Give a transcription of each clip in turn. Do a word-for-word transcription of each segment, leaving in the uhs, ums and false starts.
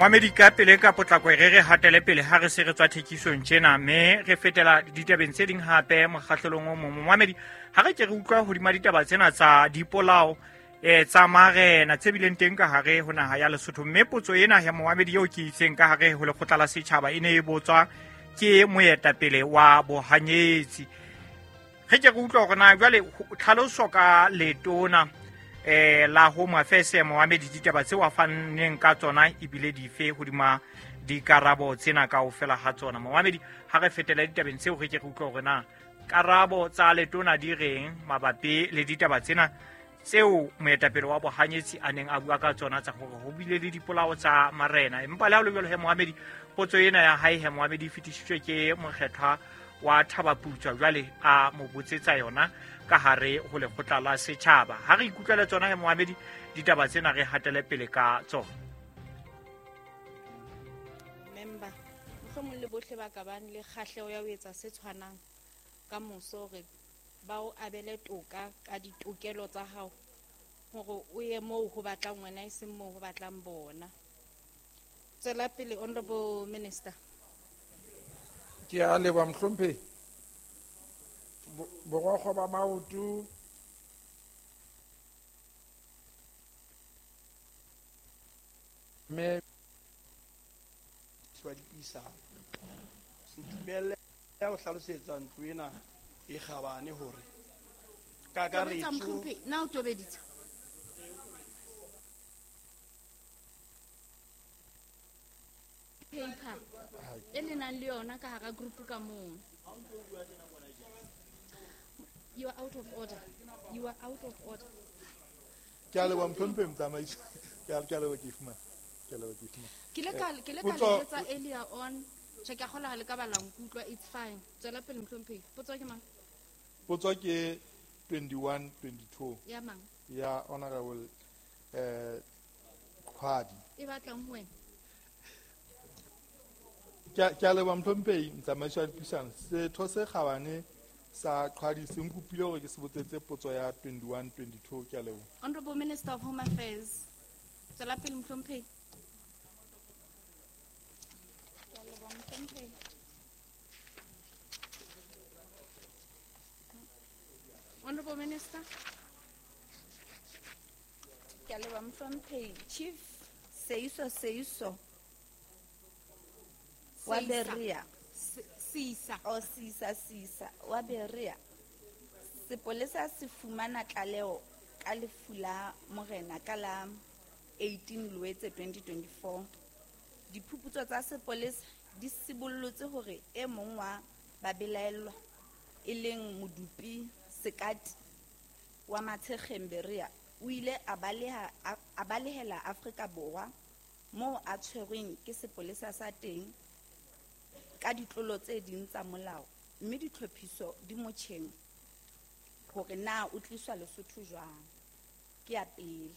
Moamedi ka pele ka potlako re re hatele pele ha re se re tswa thekisong tjena mme re fetela ditabeng tse ding hape mokgahlelong o mong. Moamedi ha re ke re utlwa hodima ditaba tsena tsa dipolao eh tsa marena tse bileng teng ka hare ho naha ya Lesotho, mme potso ena ya moamedi eo ke itseng ka hare ho lekgotla la setjhaba e ne e botswa ke moetapele wa bohanyetsi. Re ke re utlwa hore na jwale tlhaloso ka letona eh la Home Affairs moamedi ditaba tseo a fanneng ka tsona ebile dife hodima dikarabo tsena kaofela ha tsona. Moamedi ha re fetela ditabeng tseo re ke re utlwa hore na karabo tsa letona di reng mabapi le ditaba tsena tseo moetapele wa bohanyetsi a neng a bua ka tsona tsa hore ho bile le dipolao tsa marena. Empa le ha ho le jwalo he moamedi potso ena ya hae he moamedi e fetisitswe ke mokgethwa wa Thabaputswa jwale a mo botsetsa yona ka hare ho lekgotla la setjhaba. Ha re ikutlwele tsona he moamedi ditaba tsena re hatele pele ka tsona. Member mohlomong le bohle ba ka bang le kgahleho ya ho etsa se tshwanang ka moso hore ba o abele toka ka ditokelo tsa hao hore o ye moo ho batlang wena e seng moo ho batlang bona. Tswela pele Honorable Minister. Ke a leboha mohlomphehi. Borokgo ba maoto mme wa dipuisano. Ntumelle ho hlalosetsa ntlo ena e kgabane hore kakaretso na o tobeditse paper e le nang le yona ka hara group ka mong. You are out of order. You are out of order. Ke a leboha mohlomphehi motsamaisi. Ke a leboha ke fumana. Ke a leboha ke fumana. Ke le ka ke le ka letsa earlier on. Che ke a kgola ha le ka bala nkutlwa, it's fine. Tswela pele mohlomphehi. Potso ke mang? Potso ke twenty-one twenty-two. Ya mang? Ya Honorable eh Qhwadi. E batlang ho wena. Ke a leboha mohlomphehi motsamaisi wa dipuisano. Setho se kgabane sa Qhwadi se nkopile hore ke se botsetse potso ya twenty-one twenty-two. Ke a leboha. Honorable Minister of Home Affairs. Tswela pele mohlomphehi. Ke a leboha mohlomphehi. Honorable Minister. Ke a leboha mohlomphehi. Chief Seiso Seiso wa Berea. Sisa. O Sisa Sisa wa Berea. Sepolesa se fumana tlaleho ka lefu la morena ka la eighteen Loetse twenty twenty-four. Diphuputso tsa sepolesa di sibollotse hore e mong wa babelaellwa e leng Modupi Sekati wa Matshekgeng Berea o ile a baleha a balehela Afrika Borwa moo a tshwerweng ke sepolesa sa teng ka ditlolo tse ding tsa molao, mme ditlhophiso di motjheng hore na o tliswa Lesotho jwang. Ke ya pele.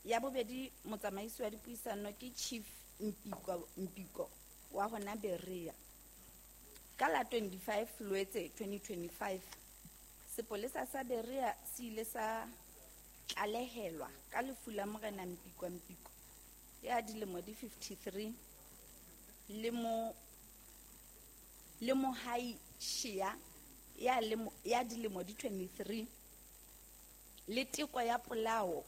Ya bobedi, motsamaisi wa dipuisano ke Chief Mpiko Mpiko wa hona Berea. Ka la twenty-five Loetse twenty twenty-five sepolesa sa Berea se ile sa tlalehelwa ka lefu la morena Mpiko Mpiko ya dilemo di fifty-three le mo le Mohai Shia ya lemo ya dilemo di twenty-three le teko ya polao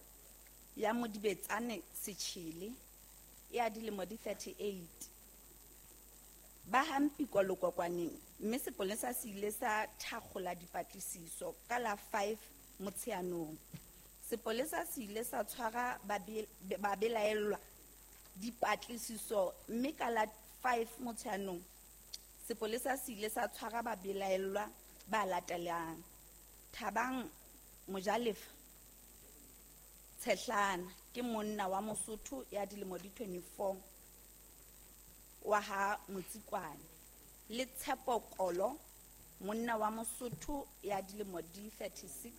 ya Modibetsane Setjhele ya dilemo di thirty-eight. Ba ha Mpiko Lokokwaneng, mme sepolesa se ile sa thakgola dipatlisiso ka la five Motsheanong. Sepolesa se ile sa tshwara babelaellwa dipatlisiso mme ka la five Motsheanong sepolesa se ile sa tshwara babelaellwa ba latelang: Thabang Mojalefa Tshehlana ke monna wa Mosotho ya dilemo di twenty-four wa ha Motsikwane, le Tshepo Kolo monna wa Mosotho ya dilemo di thirty-six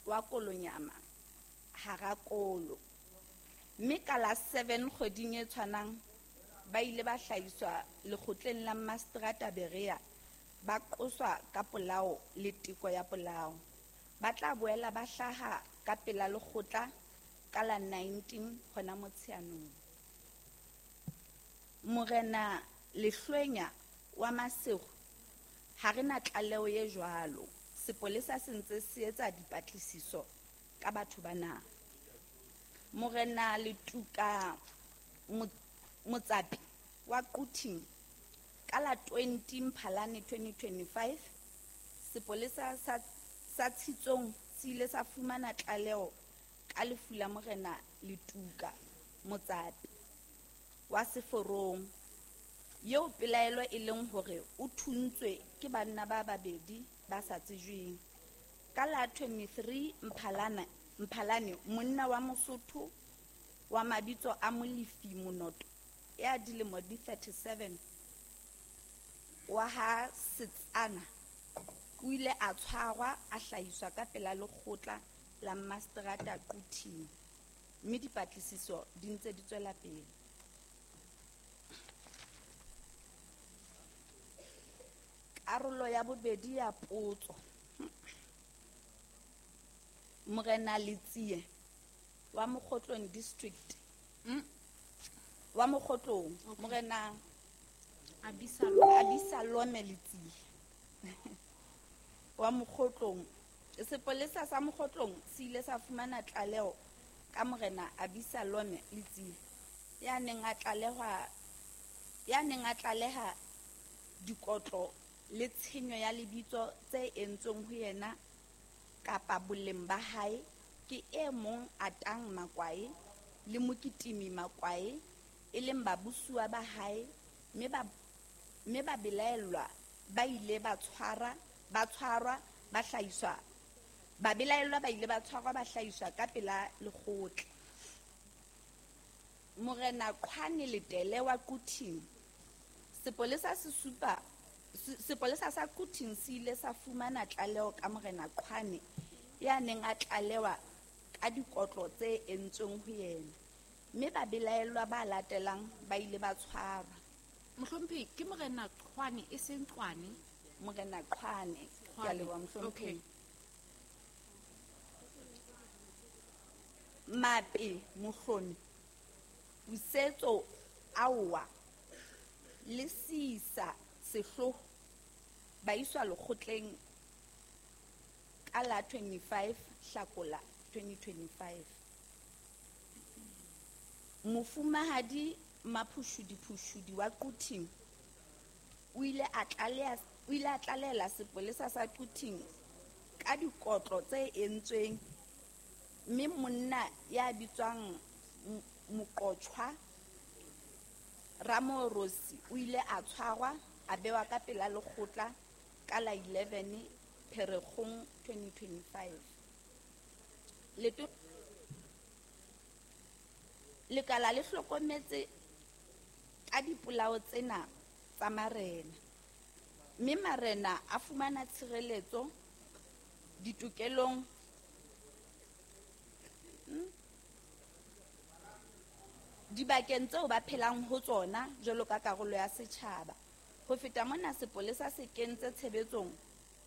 wa Kolonyama Harakolo. Mme ka la seven kgweding e tshwanang ba ile ba hlahiswa lekgotleng la Mastrata Berea ba qoswa ka polao le teko ya polao. Ba tla boela ba hlaha ka pela lekgotla ka la nineteen hona Motsheanong. Morena Lehlwenya wa Maseru ha re na tlaleho e jwalo. Sepolesa se ntse se etsa dipatlisiso ka batho bana. Morena Letuka Motsapi wa Quthing ka la twenty Mphalane twenty twenty-five, sepolesa sa, sa Tshitsong se ile sa fumana tlaleho ka lefu la Morena Letuka Motsapi wa Seforong, eo pelaelo e leng hore o thuntswe ke banna ba babedi ba sa tsejweng. Ka la twenty-three Mphalane, Mphalane monna wa Mosotho wa mabitso a Molefi Monoto ya dilemo di thirty-seven wa ha Setsana o ile a tshwarwa a hlahiswa ka pela lekgotla la Maseterata Quthing, mme dipatlisiso di ntse di tswela pele. Karolo ya bobedi ya potso. Morena Letsie wa Mokhotlong district. Mm. Wa Mokhotlong, Okay. Morena Abisalome. Abisalome Letsie wa Mokhotlong. Sepolesa sa Mokhotlong se ile sa fumana tlaleho ka Morena Abisalome Letsie ya neng a tlalehwa, ya neng a tlaleha dikotlo le tshenyo ya lebitso tse entsweng ho yena kapa boleng ba hae ke e mong Atang Makwae le Mokitimi Makwae, e leng babusuwa ba hae, mme ba, mme ba belaellwa ba ile ba tshwara, ba tshwarwa, ba hlahiswa, ba belaellwa ba ile ba tshwarwa, ba hlahiswa ka pela lekgotla. Morena Qhwane Letele wa Quthing, sepolesa se supa, se-, sepolesa sa Quthing se ile sa fumana tlaleho ka Morena Qhwane ya neng a tlalewa ka dikotlo tse entsweng ho yena, mme ba belaellwa ba latelang ba ile ba tshwarwa. Mohlomphehi, ke Morena Qhwane e seng Qwane? Morena Qhwane, ke a Qhwane, leboha, mohlomphehi. okay. Mape Mohlomi, Pusetso Aowa le Sisa Sehloho ba iswa lekgotleng ka la twenty-five Hlakola twenty twenty-five. Mofumahadi Maphushudi Phushudi wa Quthing o ile a tlaleha, o ile a tlalehela sepolesa sa Quthing ka dikotlo tse entsweng, mme monna ya bitswang M-, Moqotjhwa Ramorosi o ile a tshwarwa a bewa ka pela lekgotla ka la eleven Pherekgong twenty twenty-five. Leto-, Lekala le hlokometse ka dipolao tsena tsa marena, mme marena a fumana tshireletso ditokelong, hmm, dibakeng tseo ba phelang ho tsona jwalo ka karolo ya setjhaba. Ho feta mona, sepolesa se kentse tshebetsong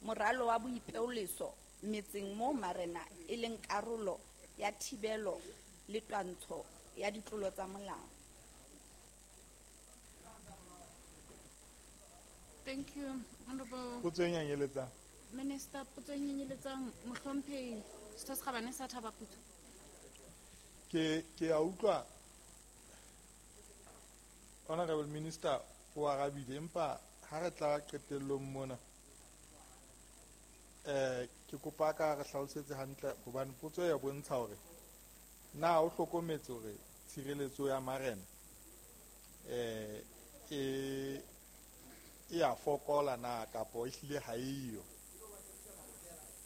moralo wa boipeoleso metseng moo marena e leng karolo ya thibelo le twantsho ya ditlolo tsa molao. Thank you, Honorable Potso e nyenyeletsang. Minister. Potso e nyenyeletsang, Mohlomphehi Setho se Kgabane sa Thaba Putswa. Ke, ke a utlwa Honorable Minister o arabile, empa ha re tla qetellong mona, eh, ke kopa ka re hlalosetse hantle, hobane potso ya bontsha hore na o hlokometse hore tshireletso ya marena, eh, e, e a fokola na kapo ehlile ha eyo.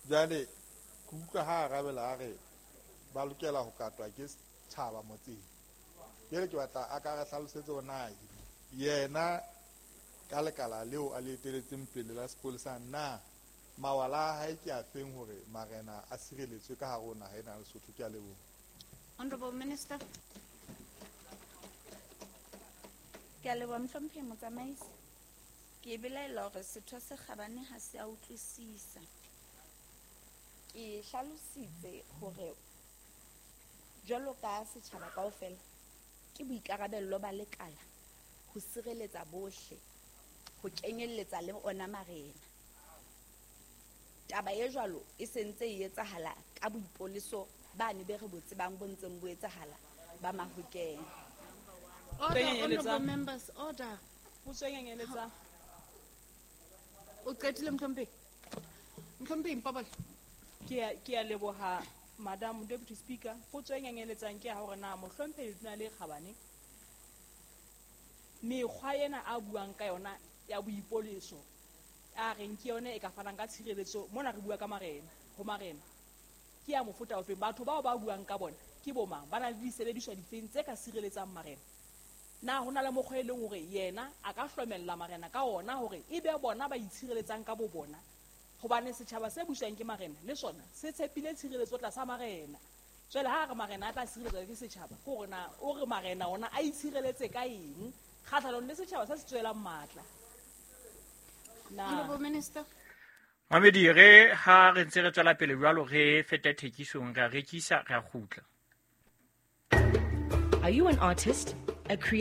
Jwale ke utlwa ha arabela a re ba lokela ho katwa ke setjhaba motseng. Jwale ke batla a ka re hlalosetse hore na yena ka lekala leo a le eteletseng pele la sepolesa, na mawala a hae ke a feng hore marena a sireletswe ka hare ho naha ena ya Lesotho? Ke a leboha. Honorable Minister. Ke a leboha, Mohlomphehi Motsamaisi. Ke belaela hore setho se kgabane ha se a utlwisisa. Ke hlalositse hore Jwalo ka setjhaba kaofela, ke boikarabello ba lekala ho sireletsa bohle, ho kenyelletsa le ona marena. Taba e jwalo e sentse e etsahala ka boipoleso bane be re bo tsebang bo ntseng bo etsahala ba Mahokeng. Order, honorable members, order. Potso e nyenyeletsa. O qetile Mohlomphehi? Mohlomphehi Mpobole. Ke a, ke a leboha Madam Deputy Speaker. Potso e nyenyeletsang ke ya hore na Mohlomphehi Letona le Kgabane mekgwa ena a buang ka yona ya boipoleso a reng ke yone e ka fanang ka tshireletso mona re bua ka marena ho marena ke ya mofuta ofeng? Batho bao ba buang ka bona ke bo mang? Ba na le disebediswa difeng tse ka sireletsang marena? Na ho na le mokgwa e leng hore yena a ka hlomella marena ka ona hore e be bona ba itshireletsang ka bo bona? Hobane setjhaba se buswang ke marena le sona se tshepile tshireletso tlasa marena. Jwale ha re marena a tla sireletswa ke setjhaba, ke hore na o re marena ona a itshireletse ka eng kgahlanong le setjhaba se se tswelang matla? Na Honorable Minister. Mamedi, re ha re ntse re tswela pele jwalo re feta thekisong, re a rekisa, re a kgutla. Are you an artist, a creator?